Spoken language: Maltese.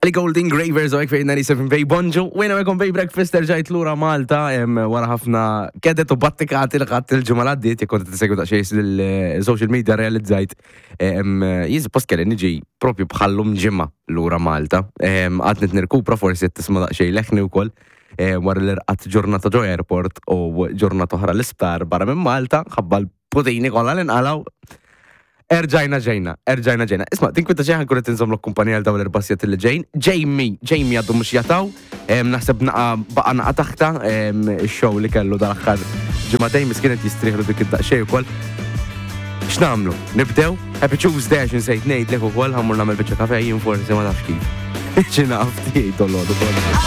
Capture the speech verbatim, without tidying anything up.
Ellie Goulding, Ravers u fejn disgħa Bay Bonġu. Wejna għekom Bay Breakfast, erġajt lura Malta, em, wara ħafna kedet u battikati li ħadt il-ġimgħa l-għaddiet, jekk kont tisegwu daqsxejn il-social media realizzajt. Jien suppost kelli niġi propju bħallum ġimgħa lura Malta. Għadni nirkupra, forsi tisma' daqsxejn leħni wkoll. Wara li rqadt ġurnata ġo airport u ġurnata oħra l-isptar barra minn Malta, ħabba l-putini kollha li nqalgħu. Erġajna ġejna, erġajna ġejna. Isma', tinkwita xejn, ħa nkun qed inżommlok kumpanija għal dawn l-erba' sigħat li ġejn. Jamie, Jamie għaddu mhux jataw, naħseb naqa baqa naqa taħta il-show li kellu dal-aħħar ġimagħtejn, miskin qed jistrieħlu dik id-daqsxejn ukoll. X'nagħmlu? Nibdew? Happy Tuesday, għax insejt ngħidlek ukoll, ħa mmur nagħmel biċċa kafe jien forsi, ma nafx kif. Xi naf tiegħi dolodu.